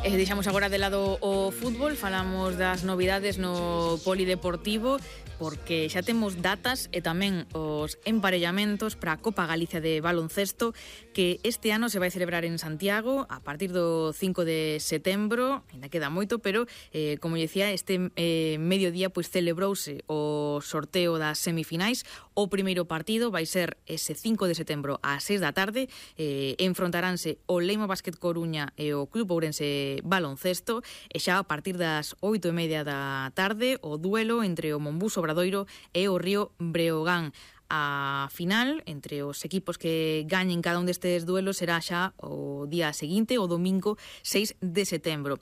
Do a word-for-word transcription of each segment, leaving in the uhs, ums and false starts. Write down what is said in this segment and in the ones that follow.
E deixamos agora de lado o fútbol, falamos das novidades no polideportivo, porque xa temos datas e tamén os emparellamentos para a Copa Galicia de baloncesto, que este ano se vai celebrar en Santiago a partir do cinco de setembro. Ainda queda moito, pero eh, como dicía, este eh, mediodía pois celebrouse o sorteo das semifinais. O primeiro partido vai ser ese cinco de setembro ás seis da tarde. eh, enfrontaránse o Leima Basket Coruña e o Club Ourense Baloncesto, e xa a partir das oito e media da tarde o duelo entre o Monbus Obradoiro e o Río Breogán. A final, entre os equipos que gañen cada un destes duelos, será xa o día seguinte, o domingo seis de setembro.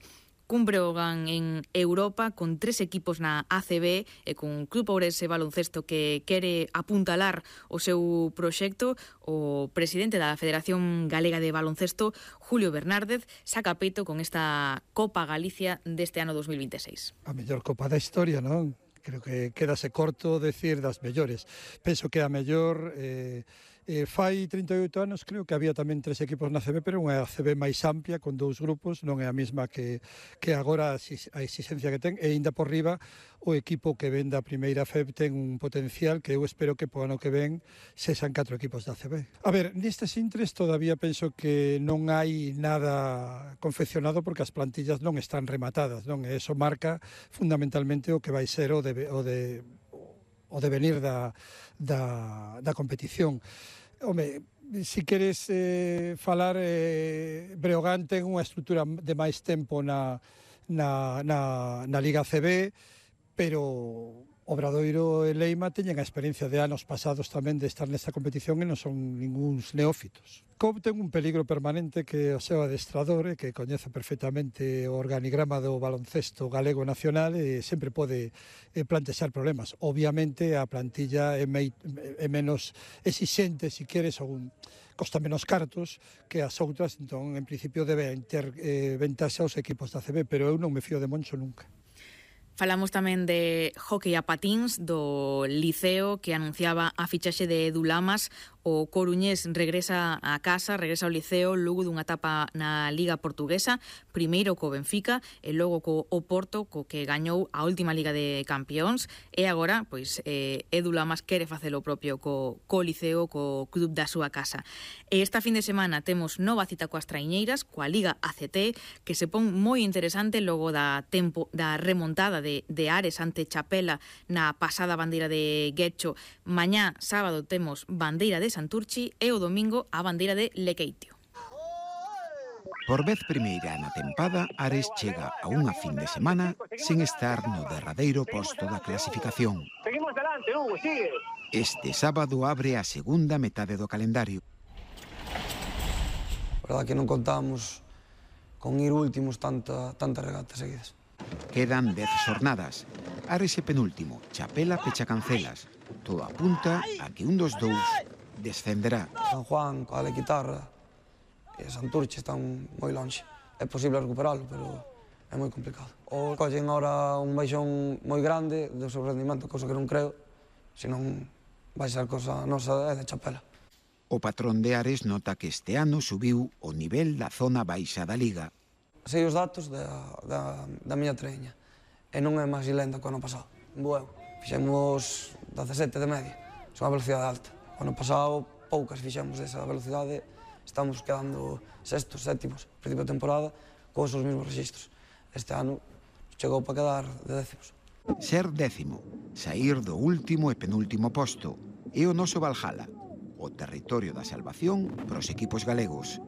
Cun Breogán en Europa, con tres equipos na A C B e con Club Ourense Baloncesto que quere apuntalar o seu proxecto. O presidente da Federación Galega de Baloncesto, Julio Bernárdez, saca peito con esta Copa Galicia deste ano dos mil veintiséis. A mellor Copa da historia, non? Creo que quedase corto decir das mellores. Penso que a mellor... Eh, eh, fai trinta e oito anos, creo que había tamén tres equipos na A C B, pero unha A C B máis amplia, con dous grupos, non é a mesma que, que agora a exigencia que ten, e ainda por riba o equipo que ven da primeira F E B ten un potencial que eu espero que po ano que ven sexan catro equipos da A C B. A ver, nestes intres todavía penso que non hai nada confeccionado porque as plantillas non están rematadas, non? E iso marca fundamentalmente o que vai ser o de, o de o devenir da, da, da competición. Home, si queres eh, falar, eh, Breogán ten unha estrutura de máis tempo na, na, na, na Liga C B, pero Obradoiro e Leima teñen a experiencia de anos pasados tamén de estar nesta competición e non son ninguns neófitos. C O B ten un peligro permanente que o seu adestrador, que coñece perfectamente o organigrama do baloncesto galego nacional e sempre pode plantexar problemas. Obviamente a plantilla é, mei, é menos exixente, se queres, ou costa menos cartos que as outras, entón en principio deben ter eh, ventaxa os equipos da C B, pero eu non me fío de Moncho nunca. Falamos tamén de hóquei a patíns do Liceo, que anunciaba a fichaxe de Edu Lamas. O coruñés regresa a casa, regresa ao Liceo logo dunha etapa na Liga Portuguesa, primeiro co Benfica e logo co Oporto, co que gañou a última Liga de Campións, e agora, pois, eh, Edu Lamas quere facer o propio co, co Liceo, co club da súa casa. E esta fin de semana temos nova cita coas traiñeiras, coa Liga A C T, que se pon moi interesante logo da tempo da remontada de, de Ares ante Chapela na pasada bandeira de Guecho. Mañá, sábado, temos bandeira de Santurchi e o domingo a bandeira de Lequeitio. Por vez primeira na tempada, Ares chega a unha fin de semana sen estar no derradeiro posto da clasificación. Seguimos delante, Hugo, sigue. Este sábado abre a segunda metade do calendario. Verdad que non contamos con ir últimos tanta, tantas regatas seguidas. Quedan dez xornadas. Ares é penúltimo, Chapela pecha cancelas. Todo apunta a que un dos dous descenderá. San Juan, coa Guitarra e Santurce están moi longe. É posible recuperalo, pero é moi complicado. O collen ahora un baixón moi grande do seu rendimento, cousa que non creo, senón vai ser cosa nosa é de Chapela. O patrón de Ares nota que este ano subiu o nivel da zona baixa da Liga. Sei os datos da, da, da miña treña e non é máis lenta que o ano pasado. Bueu, fixemos dezasete de media, son a velocidade alta. O ano pasado poucas fixemos desa velocidade, estamos quedando sextos, sétimos, principio de temporada, con os mesmos registros. Este ano chegou para quedar de décimos. Ser décimo, sair do último e penúltimo posto, é o noso Valhalla, o territorio da salvación para os equipos galegos.